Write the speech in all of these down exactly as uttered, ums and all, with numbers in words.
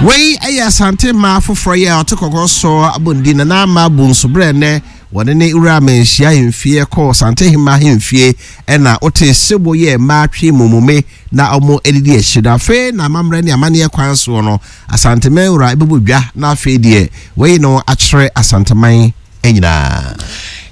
Wei yɛ Asante mmaa foforɔ yi a ɔte kɔkɔɔ so abɔndi Nana Ama Bonsu berɛ nnɛ wɔne ne wura Manhyia ahemfie kɔɔ Santehema ahemfie ɛna wote sebo yɛ mmaa twe mumome na wɔn adidi akyi no. Afei na amammerɛ ne amanneɛ kwan soɔ no Asanteman wura bɛbɔ dwa na afei deɛ wayi no akyerɛ Asanteman nyinaa.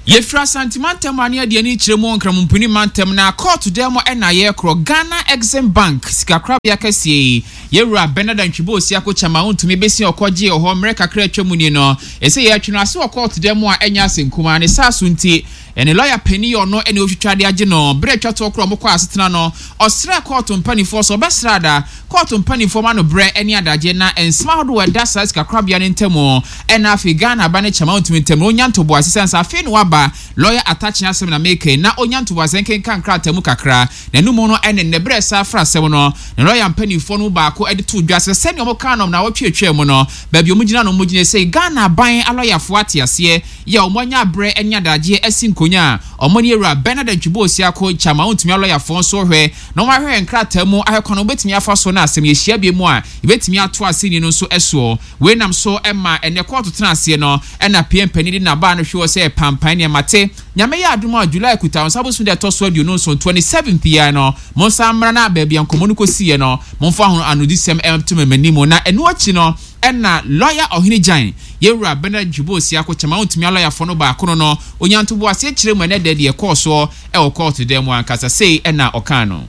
Yɛfiri Asante mantam a ne yɛde ani kyerɛ mu wɔ Nkramompini mantam na kɔɔto dan mu na yɛrekorɔ Ghana Exim Bank sikakorabea kɛseɛ yi. Yɛwura Bernard Antwi Osiako Kyama wontumi bɛsi ɔkɔ gyee wɔ hɔ mmerɛ kakra atwa mu nie no. Ɛsɛ yɛatwe no ase wɔ kɔɔto dan mu a ɛnyɛ asɛm kumaa ne saa so nti ne lɔya panin yi ɔno ne ɔtwitwa de agye no. Berɛ atwa toɔ korɔ wɔkɔɔ asetena no ɔsrɛɛ kɔɔto mpaninfoɔ sɛ ɔbɛsrɛ ada kɔɔto mpaninfoɔ ma no berɛ ne adagye na nsɛm ahodoɔ a ɛda saa sikakorabea no ntamu ɛna afei Ghana aba ne kyɛma ɔntumi ntam no ɔnya ntoboase sane sɛ afei na waba lɔya Atakye asɛm na meka yi na ɔnya ntoboase nkenkan nkrataa mu kakra na ɛno mu no ɛne nnɛ berɛ saa fra asɛm no ne lɔya mpaninfoɔ no mu baako de too dwa sɛ sɛdeɛ wɔkaa no nnawɔtwe atwaa mu no baabi a wɔgyina no wɔgyina sei Ghana aban alɔyafoɔ ate aseɛ yɛ a wɔanya aberɛ ne adagyeɛ asi nkonya a wɔne Awura Bernard Antwi Osiako Kyama ɔntumi alɔyafoɔ nso hwɛ na wɔahwehwɛ nkrataa mu ahwɛ kwan a wɔbɛtumi afa so na asɛm yɛhyia bio mu a yɛbɛtumi ato asɛnni no nso soɔ. Wei nam so ma ɛnnɛ kɔɔto tena aseɛ no na P M panin de n'abaa no hwe hɔ sɛ pampan nea mate. Nyame yɛ adom a July kuta wo nsa bosome da ɛtɔ so aduonu nson, twenty seventh yi ara no monsan mmra na baabi a nkɔmmɔ no kɔsiiɛ no momfa ho anodisɛm nto m'anim na ɛno akyi no ɛna Lɔya Ɔhene Gyan, Yɛwura Bernard Dwubo Osiako Kyama wontumi alɔyafoɔ no baako no no ɔnya ntoboaseɛ kyerɛ mu ɛnɛ da deɛ ɛkɔɔ soɔ ɛwɔ kɔɔto dan mu ankasa sei ɛna ɔkaa no.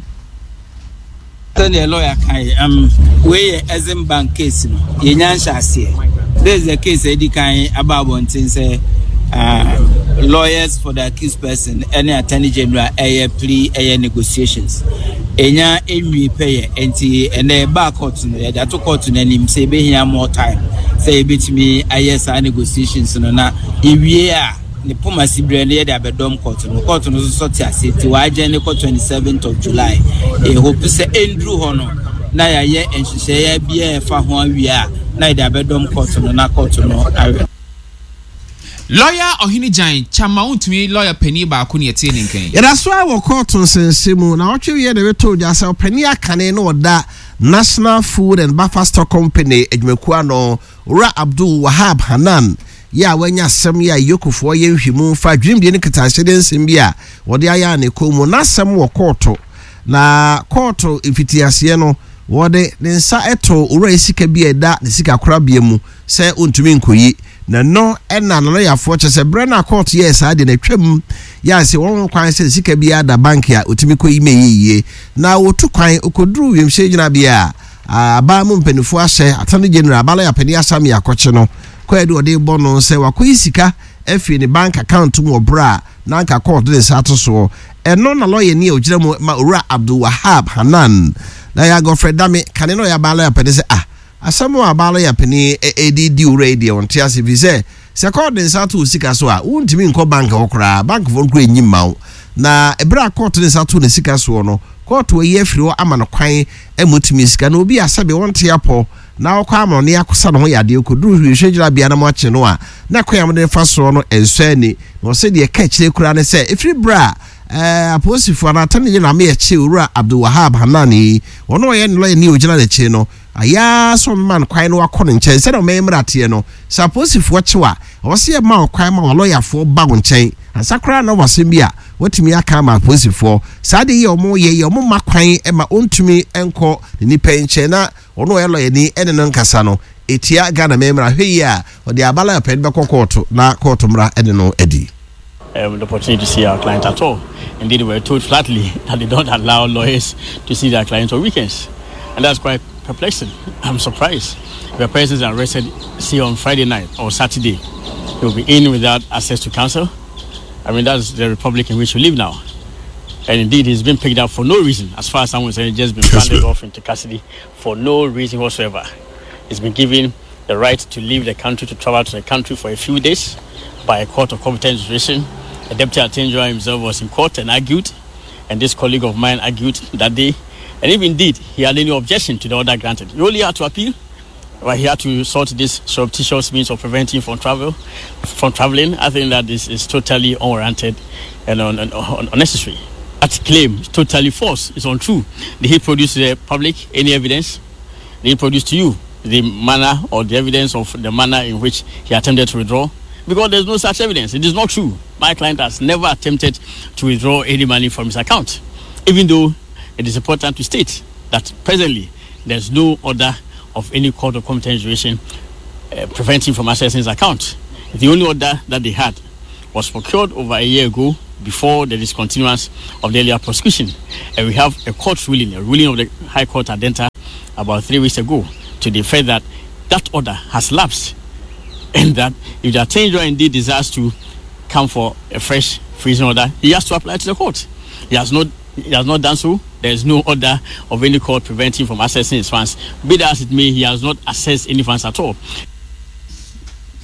Sɛdeɛ lawyer kae, um, wei yɛ Exim Bank case no, yɛnya nhyɛaseɛ. This is the case a ɛdi kan aba abɔnten sɛ uh, lawyers for the accused person ɛne attorney general ɛyɛ plea ɛyɛ negotiations. Ɛnya ɛnwie pɛyɛ, nti ɛnɛ ɛbaa court no, yɛde ato court no anim sɛ yɛbɛhia more time sɛ yɛbɛtumi ayɛ saa negotiations no na yɛwie a ne poma si berɛ no yɛde abɛdɔm court no. Court no nso te ase nti wɔagye ne kɔ twenty-seventh of July. Yɛhope sɛ ɛnduru hɔ no na yɛayɛ nhyehyɛeɛ biara ɛfa ho awie a na yɛde abɛdɔm court no na court no awe. Lɔya Ɔhene Gyan Kyama wontumi lɔya panin baako ne yɛtee ne nkan. Yɛda so ara wɔ kɔɔto nsɛnsɛm mu na ɔtwe wie na ɛbɛtɔ dwa sɛ ɔpanin akane na ɔda National Food and Buffer Stock Company adwumakuo ano Owura Abdul Wahab Hanan yɛ a wanya asɛm yɛ a Yokofoɔ yɛ nhwɛmu fa dwumadie ne ketahyɛdeɛ nsɛm bi a wɔde ayɛ a ne kɔn mu n'asɛm wɔ kɔɔto na kɔɔto mfitiaseɛ no wɔde ne nsa ɛto owura yi sika bi a ɛda ne sika korabea mu sɛ ɔntumi nkɔyi na no ɛna n'alɔyafoɔ kyɛ sɛ berɛ no a kɔɔto yɛɛ saa deɛ na atwam yɛ a sɛ wɔn ho kwan sɛ sika bi ada bank a ɔtumi kɔyi ma ɛyɛ yie na wɔtu kwan ɔkɔduru wiemhyɛn gyinabea a aban mu mpanimfoɔ ahyɛ Attorney General abalɔya panin Asami akɔkye no kɔɛ de ɔde bɔ no sɛ wakɔyi sika afiri ne bank account mu wɔ berɛ a na anka kɔɔto de nsa ato soɔ. Ɛno na lɔya ni a ɔgyina mu ma Owura Abdul Wahab Hanan na yɛ Godfrey Dame kane na ɔyɛ aban lɔya panin sɛ ah asɛm a aban lɔya panin ɛdi di owura yi deɛ ɔnte ase fi sɛ sɛ kɔɔto de nsa ato wo sika so a wontumi nkɔ bank hɔ koraa, bankfoɔ no koraa ɛnyi mma wo. Na ɛberɛ a kɔɔto de nsa ato ne sika soɔ no kɔɔto ayi afiri hɔ ama no kwan ma ɔtumi sika na obi a sɛbe wɔnte apɔ na ɔkɔ ama ɔne akɔsa ne ho yadeɛ kɔduru hwehwɛ gyinabea na mo akye no a na kwan a mode fa soɔ no ɛnsɔ ani. Na ɔsɛ deɛ ɛka akyire koraa ne sɛ ɛfiri berɛ a ɛɛ apolisifoɔ anaa attorney general ama yɛkye Owura Abdul Wahab Hanan yi, ɔno ɔyɛ ne lɔya ni a ɔgyina n'akyi no ayɛ sɛ ɔmema no kwan na wakɔ ne nkyɛn sɛdeɛ ɔmɛyɛ mmarateɛ no. Sɛ apolisifoɔ kyew a ɛwɔ sɛ yɛma wo kwan ma wɔlɔyafoɔ ba wo nkyɛn ansa koraa na wasɛm bi a watumi aka ama apolisifoɔ. Saa deɛ yɛ ɔmo yɛ yɛ ɔmo ma kwan ma ɔntumi nkɔ ne nipa nkyɛn na ɔno ɔyɛ lɔyani ɛne no nkasa no etia Ghana mmara. Hwɛ yie a ɔde aba lɔya panin bɛkɔ kɔɔto na kɔɔto mmara ɛne no adi. Um, the opportunity to see our client at all. Indeed, we were told flatly that they don't allow lawyers to see their clients on weekends. And that's quite perplexing. I'm surprised. If a person is arrested, say on Friday night or Saturday, he will be in without access to counsel. I mean, that's the republic in which we live now. And indeed, he's been picked up for no reason. As far as I'm concerned, he's just been handed off into custody for no reason whatsoever. He's been given the right to leave the country, to travel to the country for a few days by a court of competent jurisdiction. The deputy attorney general himself was in court and argued, and this colleague of mine argued that day. And if indeed he had any objection to the order granted, he only had to appeal. But he had to sort this surreptitious means of preventing from travel, from traveling. I think that this is totally unwarranted and un, un, un, unnecessary. That claim is totally false. It's untrue. Did he produce to the public any evidence? Did he produce to you the manner or the evidence of the manner in which he attempted to withdraw? Because there's no such evidence. It is not true. My client has never attempted to withdraw any money from his account, even though it is important to state that presently there's no order of any court of competent jurisdiction uh, preventing from accessing his account. The only order that they had was procured over a year ago before the discontinuance of the earlier prosecution. And we have a court ruling, a ruling of the High Court at Adenta about three weeks ago to the effect that that order has lapsed and that if the attorney general indeed desires to come for a fresh freezing order, he has to apply to the court. He has not he has not done so. There is no order of any court preventing from accessing his funds. Be that as it may, he has not accessed any funds at all.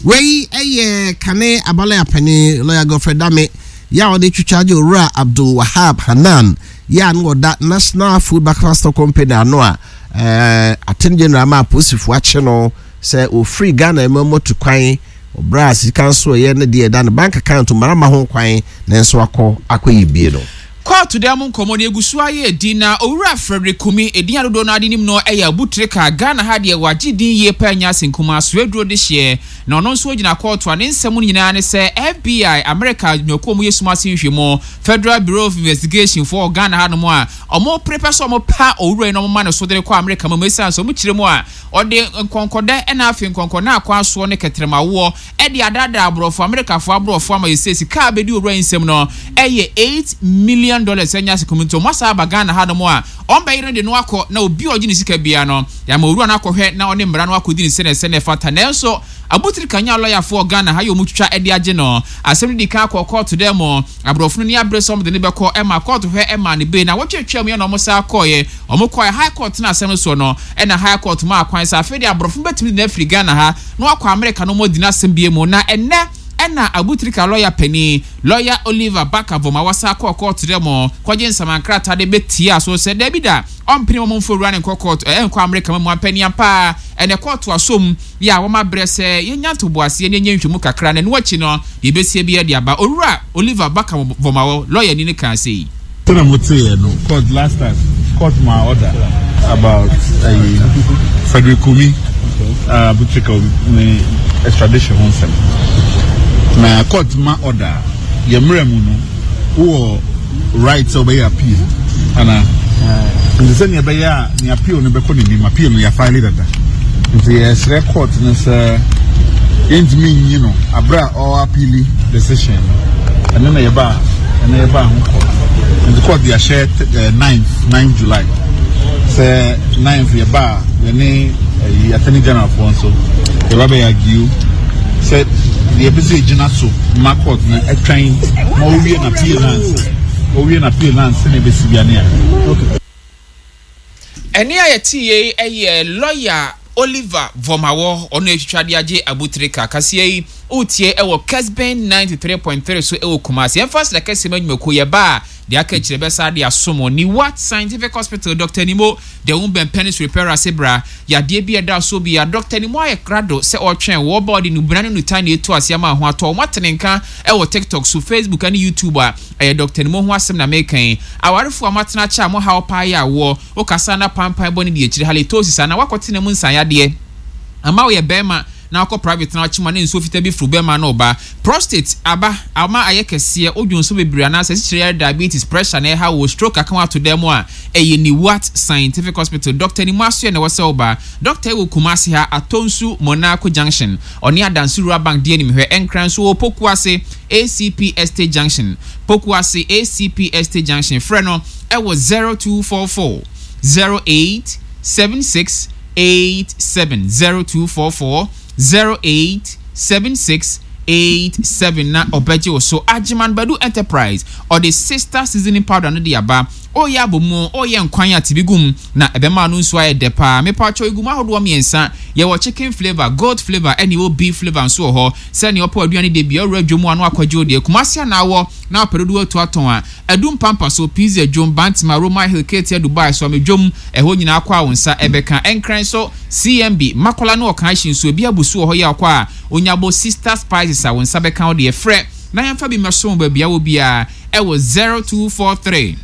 Wei ɛyɛ kane abalaya panin lawyer Godfrey Dame yɛ a ɔde twitwa gye owura Abdul Wahab Hanan yɛ a no ɔda National Food Buffer Stock Company ano a ɛɛ attorney general ama apolisifoɔ akye no sɛ ofiri Ghana mu moto kwan ɔbrɛ a sika nso ɛyɛ ne deɛ ɛda no bank account mmarama ho kwan na nso akɔ akɔyɛ bie no. Kɔɔto dan mu nkɔmmɔ no egu so ayɛ edi na owura Frederick Kumi edin adodoɔ no ade nim no ɛyɛ Abutirika Ghana ha deɛ wagye din yie paa nya ase nkuma soaduro de hyeɛ na ɔno nso gyina kɔɔto a ne nsɛm no nyinaa ne sɛ F B I America nnwumakuo mu yɛ sum ase nhwɛmu Federal Bureau of Investigation foɔ Ghana ha nom a ɔmo prepɛ sɛ ɔmo pa owura yi na ɔmo ma ne so de kɔ America mu esiane sɛ ɔmo kyerɛ mu a ɔde nkɔnkɔdɛ ɛna afei nkɔnkɔ na akɔ asoɔ ne kɛtɛrɛmawoɔ ɛde adaadaa aborɔfo Amerikafoɔ aborɔfo ama yɛsɛ sika a bɛdi owura yi nsɛm no ɛyɛ eight million dollars ɛnya ase kɔmi nti ɔmo asa aba Ghana ha nom a ɔmbɛyere no de no akɔ na obi a ɔgye ne sika bia no yàmà owura no akɔhwɛ na ɔne mmara no akɔdi ne sɛnɛ sɛnɛ fata. Nanso Abotiri kanya lɔyafoɔ Ghana ha yɛ ɔmo twitwa ɛde agye no asɛm no di kan akɔ kɔɔto dɛ mo aborɔfo no ni abere sɛ ɔmo de ne bɛkɔ ɛma kɔɔto hwɛ ɛma ne bee na wɔtwetwe mu yɛ na ɔmo sa akɔɔyɛ ɔmo kɔɛ High Court na asɛm no soɔ no ɛna High Court mu akwan sɛ afei de aborɔfo no bɛtumi de no afiri Ghana ha na wakɔ Amerika no ɔmo di n'asɛm bie mu. Na ɛnɛ ɛna Abutirika lɔya panin lɔya Oliver Barker-Vormawor wasa kɔɔ kɔɔto dɛ mo kɔgye nsamankrataa de bɛtia so sɛ dɛbi da ɔmpene wɔn mfo wura ne nkɔ kɔɔto ɛɛ nkɔ Amerika mu ampani paa. Ɛnɛ kɔɔto asom yɛ a wɔn abrɛ sɛ yɛnya ntoboaseɛ ne yɛnyɛ nhwɛmu kakra na ɛno akyi no deɛ ebesie bi ɛde aba. Owura Oliver Barker-Vormawor lɔya ni ne kan se yi. Sɛnɛ mo te yɛ no court last time court ma order about uh, Frederick Kumi uh, Abutrika ne extradition ho nsɛm na court ma order yɛ mmerɛ mu no wowɔ right sɛ wobɛyɛ appeal ana nti sɛnea ɛbɛyɛ a ne appeal no bɛkɔ n'anim appeal no yɛafile dada nti yɛsrɛ court no sɛ yɛntumi nyi no abere a ɔwɔ appeal decision no ɛno na yɛba ɛno yɛba ho court nti court de ahyɛ ɛɛ ninth ninth July sɛ ninth yɛba a yɛne ɛyi attorney general foɔ nso yɛba bɛyɛ argue sɛ deɛ yɛpɛ sɛ yɛgyina so ma court no ɛtwɛn ma owie na appeal nansa owie na appeal nansa na ebesi bia ne ayɛ. Ɛne a yɛte yei ɛyɛ lɔya Oliver Vormawor ɔno atwitwa de agye Abutirika kaseɛ yi wotie ɛwɔ Kesben ninety-three point three so ɛwɔ Kumase. Yɛmfa sɛ kɛseɛ ma nnwumakuo yɛba a deɛ aka akyerɛ bɛsa de asom Niwat Scientific Hospital Doctor Nimo deɛ wo bɛn penis repair ase bra yadeɛ bi ɛda so bi a Doctor Nimo ayɛ krado sɛ ɔtwɛn wɔba ɔde nubena ne nutan na ɛtu ase ama ho atɔ wɔn atene nka ɛwɔ TikTok so Facebook ne YouTube a ɛyɛ Doctor Nimo ho asɛm na mekan awarefoɔ a moatena kyɛ a mo haw paa yɛ awoɔ wokasa na pampan bɔ ne deɛ akyire halitosis anaa wakɔtena mu nsanyadeɛ ama woyɛ bɛrima na akɔ private na akyima ne nsuo fitaa bi firi bɛrima na ɔba prostate aba ama ayɛ kɛseɛ odwo nso bebree anaasɛ asikyire yare diabetes pressure na ɛha wɔ stroke aka ato dɛm mu a ɛyɛ Niwat Scientific Hospital Doctor Nimu asoɛ na ɛwɔ sɛ ɔba doctor ɛwɔ Kumasi ha Atonsu Monaco Junction ɔne Adansi Rural Bank di anim hwɛ Ɛnkran so wɔ Pokuase A C P Estate Junction Pokuase A C P Estate Junction frɛ no ɛwɔ zero two four four zero eight seven six eight seven zero two four four zero eight seven six eight seven na ɔbɛgye wo so. Agyeman Badu Enterprise ɔde sister seasoning powder no de aba ɔyɛ abomu ɔyɛ nkwan a tibi gum na ɛbɛma no nso ayɛ dɛ paa. Mepatwɛ egu mu ahodoɔ mmiɛnsa yɛwɔ chicken flavour goat flavour ɛne ɛwɔ beef flavour nso wɔ hɔ sɛnea ɔpɛ aduane de bia ɔwura dwom ano akɔgye wo deɛ Kumasi anaawɔ na apɛ dodoɔ atu atɔn a Adum Pampa so Pizza dwom Bantama Roma Hill Ketia Dubai so ame dwom ɛhɔ nyinaa kɔ a wo nsa ɛbɛka. Ɛnkran so C M B Makola ne ɔkan ahyi nso ebi abusu wɔ hɔ yɛ ɔkɔ a onyabo sister spices a wo nsa bɛka wo deɛ frɛ na yɛmfa bi mmɛso baabi a wɔ biara ɛwɔ zero two four three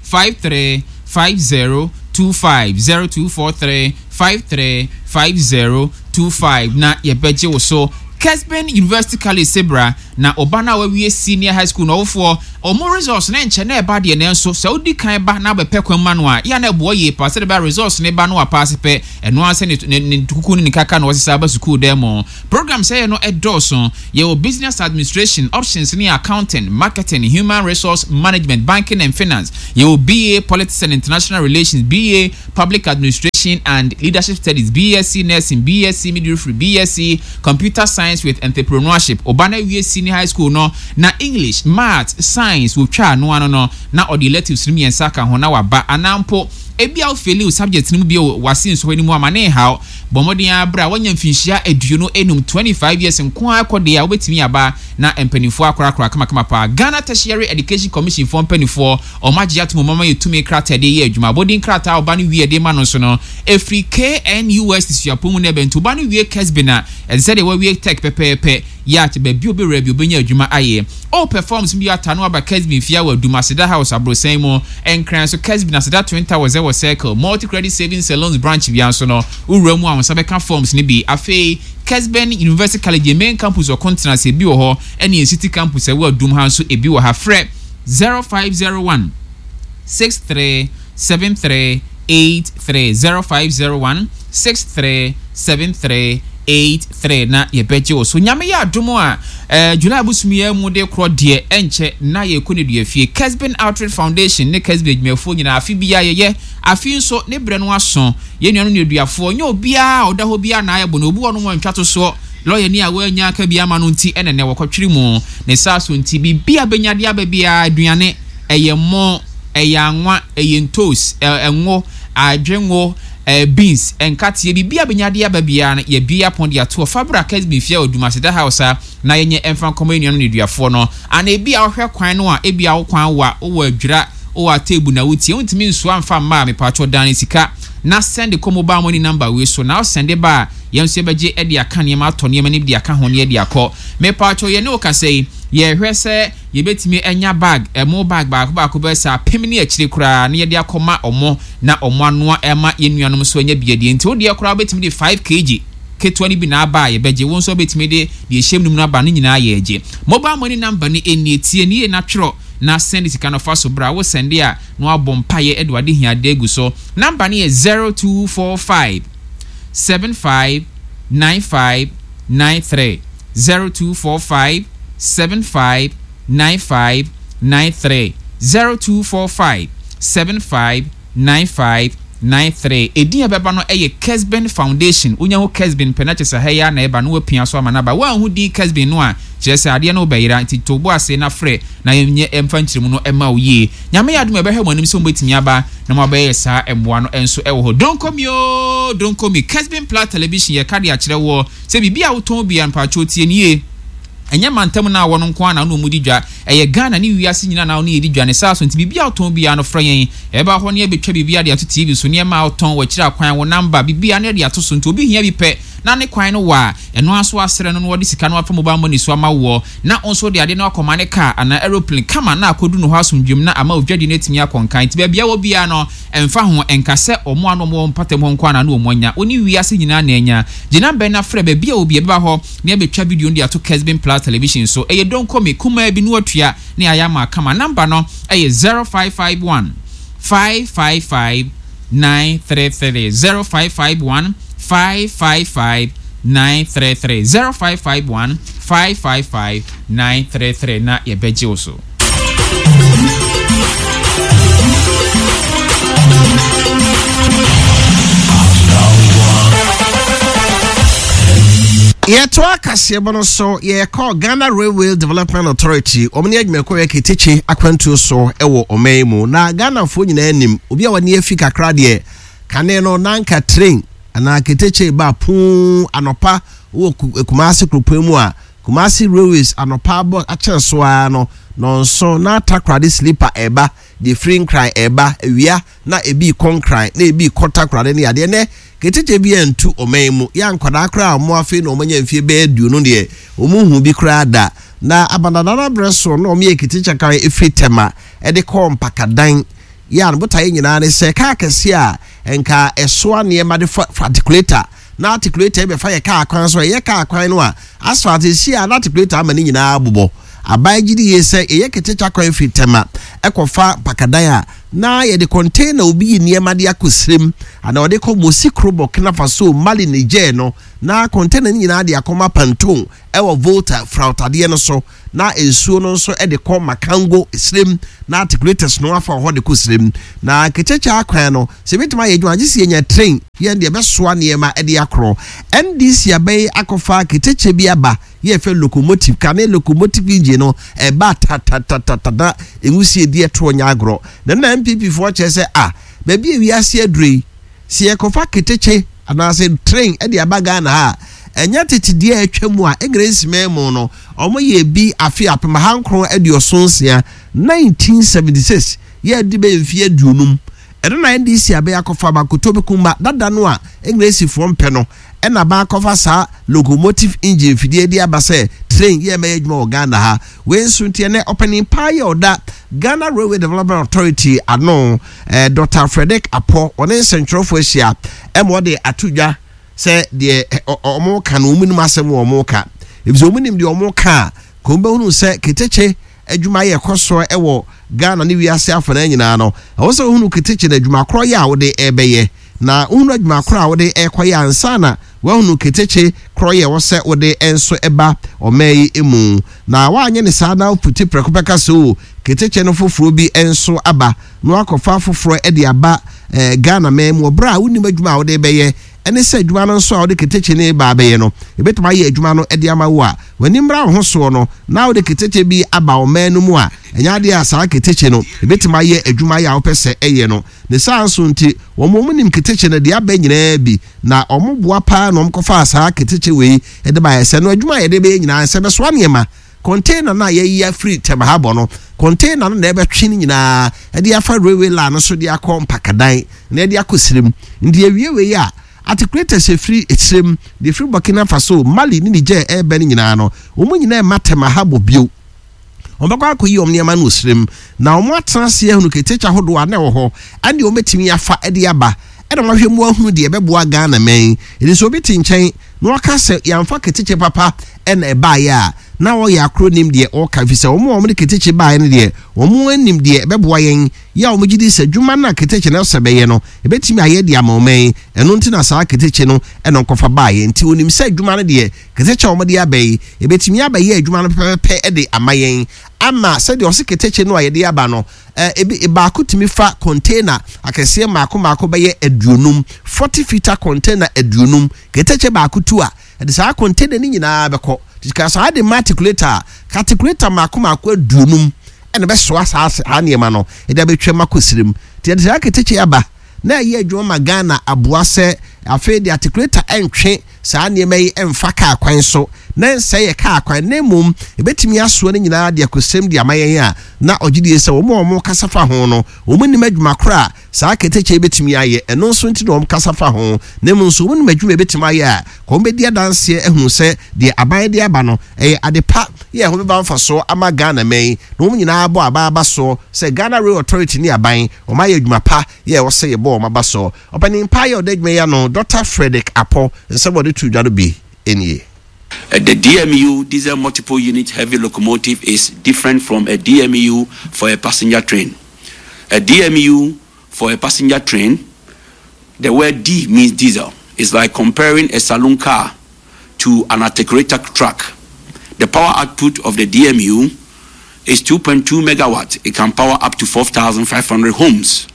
five three five zero two five zero two four three five three five zero two five na yɛbɛgye wo so. Kesben University College sebra na ɔba no a wawie senior high school na ɔwofoɔ ɔmo results ne nkyɛn na ɛba deɛ, nanso sɛ wodi kan ba na abɛpɛ kwan ma no a, yɛ na ɛboɔ yie paa sɛde bɛ results ne ba no apaase pɛ, ɛno ara sɛ ne ne kuku ne ne kaka na wɔsesa aba sukuu dɛm mu. Program sɛ yɛ no ɛdɔɔso. Yɛwɔ business administration options ne accounting, marketing, human resource management, banking and finance. Yɛwɔ B A Politics and International Relations, B A Public Administration and Leadership Studies, B S C Nursing, B S C Midwifery, B S C Computer Science with Entrepreneurship. Ɔba no awie senior high school no na English, Maths, Science wotwa ano ano no na ɔde electives no mmiɛnsa ka ho na waba. Anaa mpo ebi a wofail wo subject no mu bi wase nsɔhwɛ no mu ama ne haw, bɔ mmɔden abere a wanya mfinhyia aduonu enum, twenty-five years nko ara kɔ deɛ a, wobɛtumi aba na mpanimfoɔ akorakora kamakama paa. Ghana Tertiary Education Commission foɔ mpanimfoɔ ɔmo agye ato mu mama yɛ tumi krataa de yɛ adwuma. Abɔden krataa a ɔba no wie de ma no nso no efiri K N U S T suapɔn mu no ɛbɛn nti ɔba no wie Kesben a, ɛsɛ sɛ deɛ wawie tech pɛpɛɛpɛ yɛ akyɛ baabi obɛwura bi obɛnya adwuma ayɛ. All performs bi ata no aba Kesben fia wɔ Adum Aseda House aborosan mu. Nkran so, Kesben Aseda Twin Towers ɛwɔ Circle Multi Credit Savings and Loans branch bia nso no, wowura mu a wɔn nsa bɛka forms no bi. Afei Kesben University College main campus ɔko ase ebi wɔ hɔ, ɛne yɛn city campus ɛwɔ Adum ha nso ebi wɔ ha. Frɛ zero five zero one six three seven three eight three, zero five zero one six three seven three eight three na yɛbɛgye wo so. Nyame yɛ adom a, eh, July bosom yi mu de korɔ deɛ, ɛnkyɛ na yɛkɔ ne dua fie. Kesben Outreach Foundation ne Kesben adwumayɛfoɔ nyinaa, afe biara yɛyɛ, afe nso ne berɛ no aso. Yɛn nuanom ne aduafoɔ nyɛ obiara a ɔda hɔ biara na ayɛ bɔ no. Obi wɔ no wɔn ntwa to soɔ, lɔya ni a wɔanya aka bi ama no nti ɛna nɛ wɔkɔtwere mu ne saa so. Nti biribi a bɛnya de aba biara, aduane, ɛyɛ mmɔ, ɛyɛ anwa, ɛyɛ ntos, ɛngo, adwengo, ɛɛ beans, nkateɛ, biribi a bɛnya de aba biara no, yɛbie apɔn de ato ɔfa Kesben fie a Odumaseda House a na yɛnyɛ ɛmfa nkɔmɔ yɛn nuanom ne aduafoɔ no. Ana ebi a wɔhwɛ kwan no a, ebi a wo kwan wa wowɔ Adwira, wowɔ Ateebu na wotie, wontumi nsoa mfa mma a, mepatwɔ dan sika na send kɔ mobile money number wei so. Na ɔsend ba a, yɛn nso yɛbɛgye de aka nneɛma, atɔ nneɛma no de aka ho ne yɛde akɔ. Mepatwɔ, yɛne wo kasa yi, yɛhwɛ sɛ yɛbɛtumi anya bag, ɛmo bag baako baako bɛyɛ sɛ apem ne akyire koraa na yɛde akɔma ɔmo na ɔmo anoa ɛma yɛn nuanom so anya biadie. Nti wodeɛ koraa wobɛtumi de five kilograms ketewa no bi na aba a, yɛbɛgye. Wo nso wobɛtumi de deɛ ɛhyɛm no mu no aba no nyinaa, yɛgye. Mobile money number no ɛnie, tie ne yie na twerɛ na send sika no fa so bra. Wo send a, na wabɔ mpayɛ de wade hiade agu so. Number no yɛ zero two four five seven five nine five nine three, zero two four five seven five nine five nine three, zero two four five seven five nine five nine three. Edin a ɛbɛba no yɛ Kesben Foundation. Wonya ho Kesben pɛ na kyerɛ sɛ ha yi a na ɛba no wapia so ama no aba. Woanhu din Kesben no a, kyerɛ sɛ adeɛ no wobɛyera. Nti to bo ase na frɛ na yɛnyɛ ɛmfa nkyerɛmu no ɛma wo yie. Nyame yɛ adom a, ɛbɛhwɛ mo anim sɛ mobɛtumi aba na moabɛyɛ saa mmoa no nso ɛwɔ hɔ. Don't call me o, don't call me. Kesben Plus Television, yɛka de akyerɛ wɔ sɛ biribi a wotɔn bia, mpatwɔ tie nie, ɛnyɛ mantam no a wɔno nko ara na wo ne ɔmu di dwa, ɛyɛ Ghana ne wiase nyinaa na wo ne yɛdi dwa ne saa so. Nti biribi a wotɔn biara no, frɛ yɛn, ɛbɛba hɔ ne yɛbɛtwa biribi de ato T V so. Nneɛma a wotɔn, wɔakyerɛ akwan, wo number, biribi a ne yɛde ato so. Nti obi hia bi pɛ na ne kwan no wɔ a, ɛno aso asrɛ no na wɔde sika no afa mobile money so ama woɔ, na wo nso de ade no akɔma ne car anaa aeroplane kama na akɔdu no hɔ asomdwem na ama odwadi no atumi akɔ nkan. Nti baabi a wɔ biara no, ɛmfa ho, ɛnka sɛ ɔmo ano ɔmo wɔ mpatam hɔ nko ara na ɔmo anya, wo ne wiase nyinaa na anya. Gyina bɛn na frɛ. Baabi a obi ɛbɛba hɔ na yɛbɛtwa video no de ato Kesben Plus Television so. Ɛyɛ donkomi kumaa bi no watua ne ayɛ ama kama. Number no ɛyɛ zero five five one five five five nine three three, zero five five one five five five nine three three, zero five five one five five five nine three three na yɛbɛgye wo so. Yɛtoa kaseɛbɔ no so. Yɛkɔ Ghana Railway Development Authority, wɔn ne adwumakuo yɛ ketekye akwantuo so wɔ ɔman yi mu. Na Ghanafoɔ nyinaa nim, obi a wɔne afi kakra deɛ, kane no nanka train anaa ketekye ba puu anɔpa wɔ Kumase kuropɔn mu a, Kumase Railways anɔpa abɔ akyɛn so ara no nɔnso na Takoradi sleeper ɛba, deɛ firi Nkran ɛba awia na ebi kɔ Nkran na ebi kɔ Takoradi ne adeɛ. Nɛ ketekye bi antu ɔman mu yɛ nkwadaa koraa a wɔn afei na wɔn anya mfie bɛyɛ aduonu deɛ, wɔn hu bi koraa da. Na abandadada berɛ so na wɔn yɛ ketekye kan efiri Tɛma ɛde kɔɔ Mpakadan. Yɛ a no botaeɛ nyinaa ne sɛ kaa kɛseɛ a nka ɛsoa nneɛma de fa articulator na articulator bɛfa yɛ kaa kwan so, ɛyɛ kaa kwan no a asphalt esi a na articulator ama ne nyinaa bobɔ. Aban gye di yie sɛ ɛyɛ ketekya kwan firi Tema ɛkɔfa Mpakadan a, na yɛde container obi yi nneɛma de akɔ Sirem ana ɔde kɔ Mosi Kuro, Burkina Faso, Mali, Niger no, na container no nyinaa de akɔma pontoon ɛwɔ Volta frautadeɛ no so, na nsuo no nso de kɔ Makango Sirem, na articulators no afa hɔ de kɔ Sirem. Na ketekya kwan no sɛ ebitumi ayɛ adwuma agye si yɛnya train yɛn deɛ ɛbɛsoa nneɛma de akorɔ. N D C abɛyi akɔfa ketekya bi aba, yɛfɛ locomotive kane, locomotive engine no ɛba tatatatata, nwusie di ɛtoɔ nyɛ agorɔ. Na na N P P foɔ kyerɛ sɛ a baabi a wiase aduro yi, si yɛkɔfa ketekye anaasɛ train ɛde aba Ghana ha a, ɛnyɛ tete deɛ atwa mu a English man mu no, ɔmo yɛ bi afe apem aha nkron aduɔson nsia, nineteen seventy-six, yɛ de bɛyɛ mfeɛ aduonum. Ɛno na N D C abɛyɛ akɔfa bakoto bi kumba dada no a Englishfoɔ mpɛ no, ɛna baakɔfa saa locomotive engine fidie de aba sɛ train yɛ mɛyɛ adwuma wɔ Ghana ha. Wei nso nti, ɛnɛ ɔpanin paa yɛ ɔda Ghana Railway Development Authority ano, eh, Doctor Frederick Apɔ, ɔne nsɛntwerɛfoɔ ahyia ɛma ɔde ato dwa sɛ deɛ ɔmo ka no, ɔmo nim asɛm wɔ ɔmo ka, efisɛ ɔmo nim deɛ ɔmo ka a kò bɛhunu sɛ ketekye adwuma yɛ kɔ soɔ ɛwɔ Ghana ne wiase afana nyinaa no. Ɛwɔ sɛ ohunu ketekye no adwuma korɔ yɛ a wɔde ɛbɛyɛ, na ohunu adwuma korɔ a wɔde ɛkɔyɛ ansa na wahunu ketekye korɔ yɛ ɛwɔ sɛ wɔde nso ɛba ɔman yi mu. Na wanyɛ ne saa na puti prɛko pɛka so ketekye no foforɔ bi nso aba na wakɔfa foforɔ ɛde aba ɛɛ Ghana man mu, ɔbrɛ a wonim adwuma a wɔde bɛyɛ, ɛne sɛ adwuma no nso a wɔde ketekye ne ba abɛyɛ no, ebɛtumi ayɛ adwuma no de ama wo a w'ani mmra wo ho soɔ no, na wode ketekye bi aba ɔman no mu a, ɛnyɛ adeɛ a saa ketekye no ebɛtumi ayɛ adwuma yɛ a wopɛ sɛ ɛyɛ no. Ne saa nso nti, wɔn wɔn nim ketekye no deɛ aba nyinaa bi, na wɔn boa paa na wɔn kɔfa saa ketekye wei de ba yɛ sɛ no adwuma a yɛde bɛyɛ nyinaa sɛ bɛsoa nneɛma. Container no a yɛyi afiri Tema ha bɔ no, container no na ɛbɛtwe no nyinaa ɛde afa railway line no so de akɔ Mpakadan na ɛde akɔ Sirem. Nti awie wei a, articulators efiri Esirem de efiri Burkina Faso, Mali ne Niger ɛɛbɛ no nyinaa no, wɔn nyinaa ɛma Tema ha bɔ bio. Wɔn bɛkɔ akɔyi wɔn nneɛma no wɔ Sirem, na wɔn atena ase ahunu ketekye ahodoɔ a na ɛwɔ hɔ ɛne wɔn bɛtumi afa ɛde aba, ɛna wɔn ahwɛ mu ahunu deɛ ɛbɛboa Ghana mɛn. Ɛdi sɛ obi te nkyɛn na waka sɛ yɛnfa ketekye papa ɛna ɛbaayɛ a, na wɔyɛ akoro nim deɛ ɔka, fi sɛ wɔn a wɔn de ketekye baayɛ no deɛ, wɔn anim deɛ ɛbɛboa yɛn yɛ a wɔn gye di sɛ adwuma no a ketekye no sɛ bɛyɛ no, ebɛtumi ayɛ de ama ɔman. Ɛno nti na saa ketekye no ɛna nkɔfa baayɛ. Nti onim sɛ adwuma no deɛ, ketekye a wɔn de aba yi, ebɛtumi abɛyɛ adwuma no pɛpɛpɛ de ama yɛn, ama sɛdeɛ ɔsi ketekye no a yɛde aba no, ɛɛ ebi baako tumi fa container akɛseɛ mmaako mmaako bɛyɛ aduonum, forty footer container aduonum. Ketekye baako tu a, ɛde saa container no nyinaa bɛkɔ ka saa de ma articulator a, articulator mmaako mmaako aduonum ɛna bɛsoa saa saa nneɛma no ɛde abɛtwam akɔ Sirem. Nti ɛde saa ketekye aba na ɛyɛ adwuma ma Ghana, aboa sɛ afei de articulator ɛntwe saa nneɛma yi ɛmfa kaa kwan so na nsɛ yɛ kaa kwan, na mmom ebɛtumi asoa no nyinaa de akɔsɛm de ama yɛn a, na ɔgye die sɛ wɔn a wɔn kasa fa ho no, wɔn nim adwuma koro a saa ketekye bɛtumi ayɛ. Ɛno nso nti na wɔn kasa fa ho, na mmom nso wɔn nim adwuma ebɛtumi ayɛ a, kɔn bɛdi adanseɛ ehunu sɛ deɛ aban de aba no ɛyɛ ade pa yɛ ɛho bɛba mfasoɔ ama Ghana mɛn, na wɔn nyinaa bɔ aba aba soɔ sɛ Ghana Rail Authority ne aban wɔn ayɛ adwuma pa yɛ ɛwɔ sɛ yɛbɔ wɔn aba soɔ. Ɔpanin pa yɛ ɔda adwuma yi ano, Doctor Frederick Apɔ, nsɛm wɔde to dwa no bi nie. Uh, the D M U, diesel multiple unit heavy locomotive, is different from a D M U for a passenger train. A D M U for a passenger train, the word D means diesel. It's like comparing a saloon car to an articulator truck. The power output of the D M U is two point two megawatts. It can power up to four thousand five hundred homes.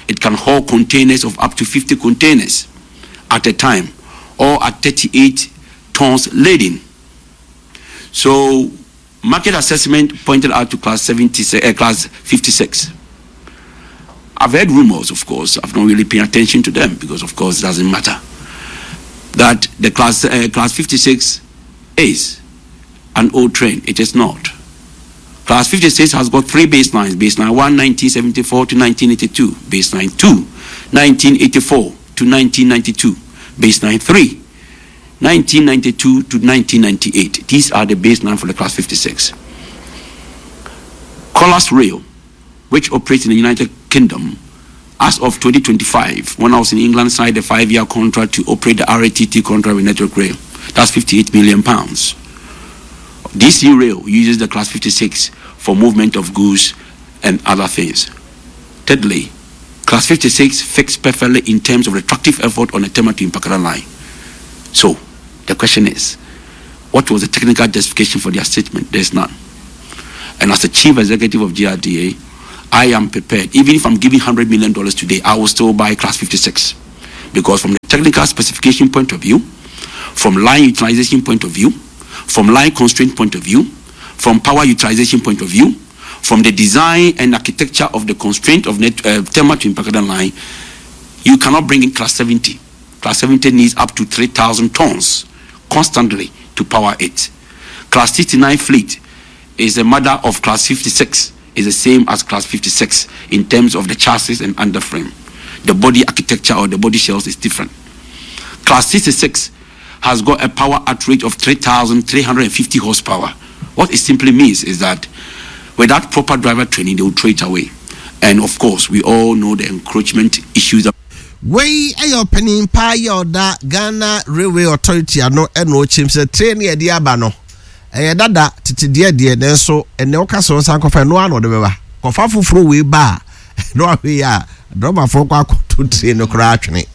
It can haul containers of up to fifty containers at a time or at thirty-eight tons laden. So, market assessment pointed out to class seventy, uh, class fifty-six. I've heard rumors, of course. I've not really paid attention to them because, of course, it doesn't matter. That the class uh, class fifty-six is an old train. It is not. Class fifty-six has got three baselines. Baseline one, nineteen seventy-four to nineteen eighty-two. Baseline two, nineteen eighty-four to nineteen ninety-two. Baseline three, nineteen ninety-two to nineteen ninety-eight. These are the baseline for the class fifty-six. Colas Rail, which operates in the United Kingdom, as of twenty twenty-five, when I was in England, signed a five-year contract to operate the R A T T contract with Network Rail. That's fifty-eight million pounds. D C Rail uses the Class fifty-six for movement of goods and other things. Thirdly, Class fifty-six fits perfectly in terms of the tractive effort on the Tema to Mpakadan line. So, the question is, what was the technical justification for their statement? There's none. And as the chief executive of G R D A, I am prepared. Even if I'm giving hundred million dollars today, I will still buy Class fifty-six. Because from the technical specification point of view, from line utilization point of view, from line constraint point of view, from power utilization point of view, from the design and architecture of the constraint of net, uh, Tema to Mpakadan line, you cannot bring in Class seventy. Class seventy needs up to three thousand tons constantly to power it. Class sixty-nine fleet is the mother of Class fifty-six, is the same as Class fifty-six in terms of the chassis and underframe. The body architecture or the body shells is different. Class sixty-six has got a power at rate of three thousand three hundred fifty horsepower. What it simply means is that without proper driver training, they will throw it away. And of course, we all know the encroachment issues. Wei ayo panin pa yoda Ghana Railway Authority ano eno chim se train ye de aba no. Eye dada tete de de nenso ene wo ka so nsan kofa no ano de beba. Kofa foforo we ba no ahwe ya driver fo kwa akoto train no kra atwene.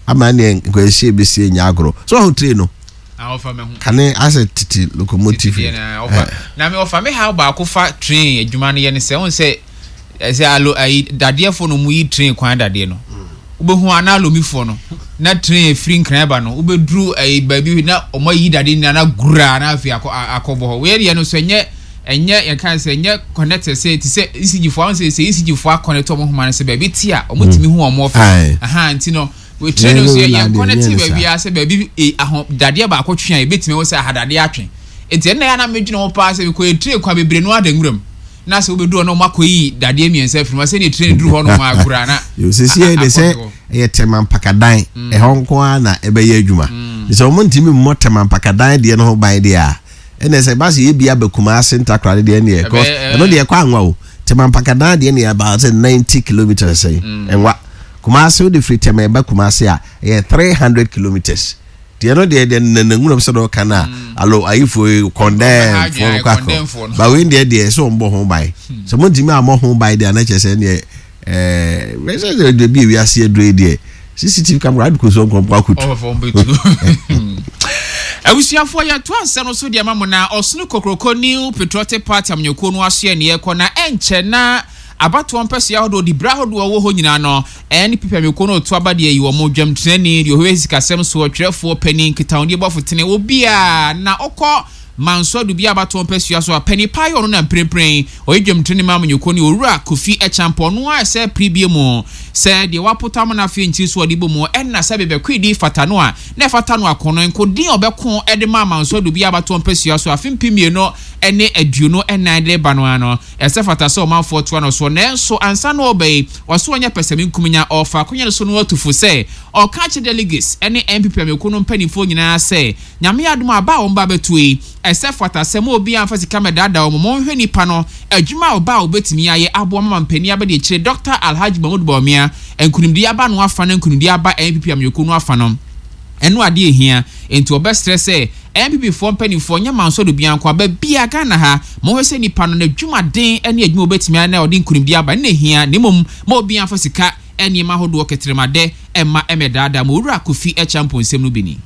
Ama ne nkwahye besie nya agro. So ho train no. Ofa me ho. Kane ase tete locomotive. Na ofa. Na me ofa me how ba kofa train adwuma no ye ne se won se se alo ayi dadeefo no mu yi train kwan dade no. Ubehu ana alomifo no na train free nkran ba no ubeduru ayi baabi na omo yi dade na na gura na afi akɔ akɔbɔ hɔ. We ye no so enye enye ye kan se enye connect se ti se E C G fo an se se E C G fo connect omo ho man se baabi ti a omo timi hu omo ofa. Aha nti no we train so ye connect baabi a se baabi aho dade ba akɔtwe a ebetimi wo se ahadade atwe. Enti na ya na medwene ho pa se ko train kwa bebre no adanguram. Na se obedu no makoyi dade miensa afiri ma se ne train duru ho no ma agura na yo se se de se ye Tema Mpakadan e ho nko a na ebe ye adwuma se o ntimi mmo Tema Mpakadan de no ho ban de a ene se ba se ye bia bakuma ase ntakra de ne e eno de kwa anwa o Tema Mpakadan de ne about ninety kilometers sei enwa Kumasi de free Tema ba Kumasi a ye three hundred kilometers de no de de nananwuram se do kana alo ayifo condemn for kwako ba we de de so mbo ho ban so mo ntimi amọ ho ban de na chese ne eh we se de bi wi ase adure de C C T V camera ad ko so nkrompo akotu oh for mbetu abusuafo ya to ansa no so de ma mo na Osunu Kokroko New Patriotic Party amnyoko no aso ne yekɔ na enche na abato mpɛso ya hodo di bra hodo wo ho nyina no N P P ameko no to abade yi wo mo dwam trani de ho sikasɛm so ɔtwerɛfoɔ panin kitawnde bɔfo tene obi a na ɔkɔ manso du bi abato mpɛso ya so pani payo no na mprempren oyi dwam trani ma amnyoko ne owura Kofi Echampo no a sɛ pribie mu sɛ de wapotam na afi nchi so ɔde bomu ɛna sɛ bebɛkwidi fata no a na fata no akono nkodin ɔbɛko ɛde ma manso du bi abato mpɛso ya so afi mpimie no ene aduonu enan de ba no ano ɛsɛ fata sɛ ɔmanfoɔ toa no so nanso ansa no ɔbɛyi ɔso ɔnyɛ pɛsɛmi nkumnya ɔfa akonya no so no atufo sɛ ɔka kyerɛ delegates ɛne N P P amekuo no mpanimfoɔ nyinaa sɛ Nyame adom aba a wɔn ba bɛto yi ɛsɛ fata sɛ mo obi amfa sika mɛdaadaa wɔn mo nhwɛ nipa no adwuma a ɔba a obetumi ayɛ aboa mama mpanin abɛde akyire Doctor Alhaji Mahmoud Bawumia nkunimdi aba no afa no nkunimdi aba N P P amekuo no afa no ɛno ade ehia enti ɔbɛsrɛ sɛ N P P foɔ mpanimfoɔ nyɛ manso do bianko aba bia Ghana ha mo hwɛ sɛ nipa no n'adwumaden ne adwuma obetumi ayɛ na ɔde nkunimdi aba ne ehia ne mom ma obi amfa sika nneɛma ahodoɔ ketremade ɛma ɛmɛdaadaa mo owura Kofi Echampo nsɛm no bi ni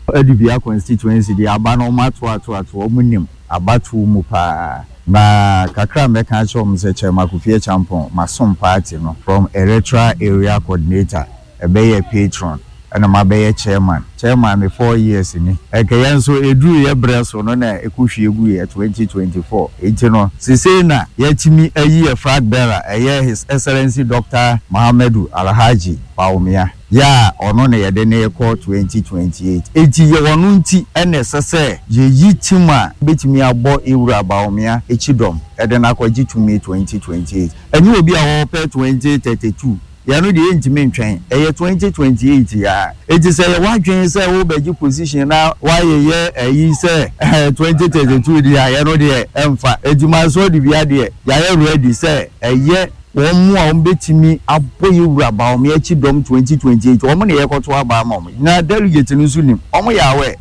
Adubia constituency de aba no ma to ato ato omu nim abatu mu pa na kakra meka kyerɛ mo sɛ Chairman Kofi Echampo masom party no from electoral area coordinator ɛbɛyɛ patron ɛna mabɛyɛ chairman chairman me four years ni ɛkɛyɛ nso eduru yɛ brɛ so no na ekuhwie gu yɛ twenty twenty-four enti no sisei na yɛtimi ayi yɛ flag bearer ɛyɛ His Excellency Doctor Muhammadu Alhaji Bawumia ya ɔno na yɛde ne kɔ twenty twenty-eight enti yɛ wɔno nti ɛna ɛsɛ sɛ yɛyi team a betumi abɔ ewura Bawumia ekyidɔm ɛde na akɔgye tumi twenty twenty-eight ɛnyɛ obi a wɔpɛ twenty thirty-two yɛno deɛ ntimi ntwɛn ɛyɛ twenty twenty-eight ya eti sɛ yɛ wadwen sɛ wo bɛgye position na wayɛ ɛyi sɛ twenty thirty-two deɛ yɛno deɛ ɛmfa edwuma so de bia deɛ yɛayɛ ready sɛ ɛyɛ Wɔn mu a wɔn bɛtumi abɔ yɛ wura Bawumia akyi dɔm twenty twenty-eight, wɔn na yɛkɔto aba ama wɔn, na delegate no nso nim wɔn yɛ awɛ.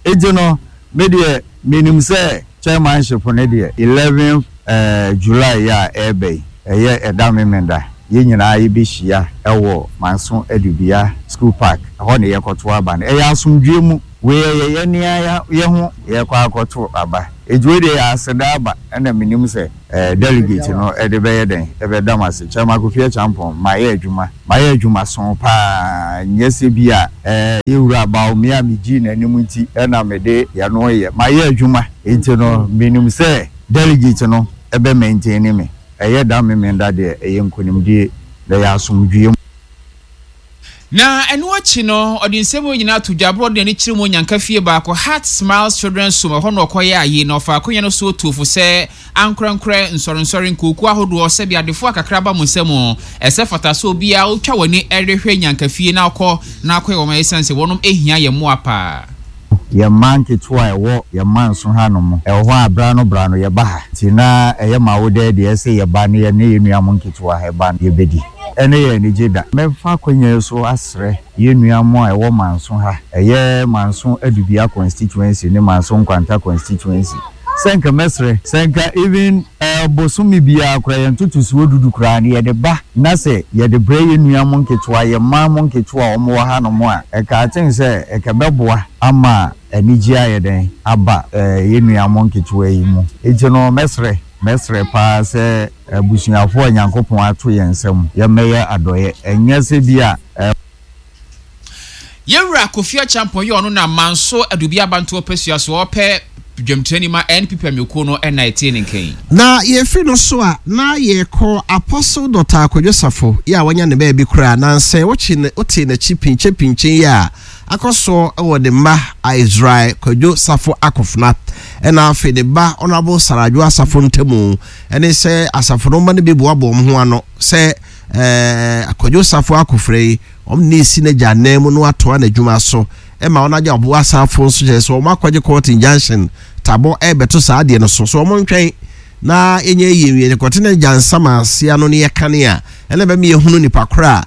Eti no, me deɛ, menim sɛ chairmanship no deɛ, eleven uh, July yɛ a ɛreba yi, ɛyɛ ɛda Memenda, yɛn nyinaa yɛbɛhyia ɛwɔ Manso Adubia School Park. Ɛhɔ na yɛkɔto aba no. Ɛyɛ asomdwe mu. Wei yɛ yɛn nea yɛ ho yɛkɔ akɔto aba. Eti wei deɛ, yɛ aseda aba, ɛna menim sɛ ɛɛ delegate no ɛde bɛyɛ dɛn ɛbɛda m ase. Chairman Kofi Acheampong, maa yɛ adwuma, maa yɛ adwuma so paa. Nyɛ sɛ bi a ɛɛ yɛwura Bawumia mi gyi n'anim nti ɛna mede yɛno yɛ. Maa yɛ adwuma, eti no menim sɛ delegate no ɛbɛ maintain me. Ɛyɛ da Memenda deɛ, ɛyɛ nkonimdie na ɛyɛ asomdwie. Na ɛno akyi no, ɔde nsɛm yi nyinaa to dwa aborɔ de n'ani kyerɛ mu nyanka fie baako, Heart Smiles Children's Home. Ɛhɔ na ɔkɔyɛ ayi na ɔfa akonnwa no so tuofo sɛ ankorankorɛ, nsɔrensɔre, nkuokuo ahodoɔ, sɛbi adefoɔ akakra ba mo nsɛm, ɛsɛ fata so obiara wotwa w'ani ɛrehwɛ nyanka fie na akɔ na akɔyɛ wɔn, ɛsiane sɛ wɔnom ehia yɛn mmoa paa. Yɛn mma nketewa a ɛwɔ yɛn mma nso hanom ɛwɔ hɔ a, bra no bra no yɛba ha, nti na ɛyɛ ma wo dɛ deɛ ɛsɛ yɛba no, yɛne yɛn nua mo nketewa ɛba no, yɛbɛdi ɛne yɛ anigye da. Mɛfa akonnwa yi so asrɛ yɛn nua mo a ɛwɔ Manso ha, ɛyɛ Manso Adubia constituency ne Manso Nkwanta constituency, sɛ nka mɛsrɛ sɛ nka even ɛɛ bosome biara koraa, yɛn ntotosoɔ dudu koraa no yɛde ba, na sɛ yɛde brɛ yɛn nua mo nketewa, yɛn mmaa mo nketewa a wɔn wɔ hanom a, ɛka aten sɛ ɛka bɛboa ama anigye ayɛ dɛn aba ɛɛ yɛn nua mo nketewa yi mu. Eti no, mɛsrɛ mɛsrɛ paa sɛ abusuafoɔ a Nyankopɔn ato yɛn nsam, yɛmmɛyɛ adɔyɛ, ɛnyɛ sɛ bi a ɛɛ. Yɛwura Kofi Acheampong yɛ ɔno na Manso Adubi abantoɔ pɛsua so ɔpɛ dwamtirani ma N P P amekuo no, ɛna ɛtee ne nkɛn. Na yɛfiri no so a, na yɛkɔ Apostle Doctor Akwadwo Safo yɛ a wanya ne baabi koraa nansɛ wokye ne wote n'akyi pinkyɛ pinkyɛ yi a akɔ soɔ wɔ ne mma Israel Kwadwo Safo Akofena ɛna afei ne ba Honorable Saradwo Asafo ntamu, ɛne sɛ asafo no mma no bi boaboa wɔn ho ano sɛ ɛɛ Akwadwo Safo Akofena yi, wɔn ne esi n'agya nan mu no atoa n'adwuma so, ɛma wɔn agya ɔbo asafo nso kyerɛ sɛ wɔn akɔgye court injunction tabɔ ɛrebɛto saa adeɛ no so so wɔn ntwɛn na yɛnyɛ yie wie kɔte ne gya nsam aseɛ no ne yɛkane a ɛna bɛma yɛhunu nipa koro a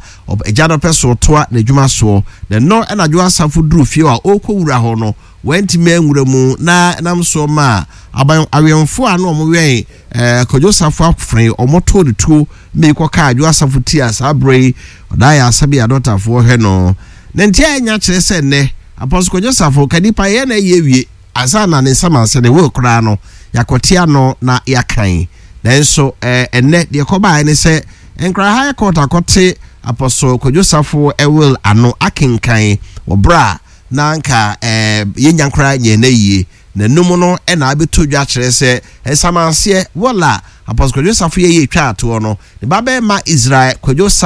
agya no pɛ so toa n'adwuma soɔ. Na ɛno ɛna Adwo Asafo duru fie a ɔrekɔ wura hɔ no, wɔntumi anwura mu, na nam soɔ ma aban awɛmfoɔ a na wɔn wɛn ɛɛ Kwadwo Safo Akofena, wɔn to ne tuo mmiri kɔka Adwo Asafo ti a saa berɛ yi ɔda yɛ asɛbi adɔtafoɔ hwɛ no. Ne nti a ɛnya kyerɛ sɛ nnɛ Apostle Kwadwo Safo ka nipa yɛ na ɛyɛ wie ansa na ne nsɛm ansa ne wɔ koraa no yɛakɔte ano na yɛakan. Nanso ɛɛ ɛnnɛ deɛ kɔbaeɛ ne sɛ Nkran High Court akɔte Apostle Kwadwo Safo ɛwill ano akenkan wɔ berɛ a na nka ɛɛ yɛnya koraa nyɛ na yie n'anum no, ɛna abɛtɔ dwa kyerɛ sɛ nsamanseɛ wɔla Apostle Kwadwo Safo yɛ yɛ twa atoɔ no, ne ba bɛrima Israel Kwadwo.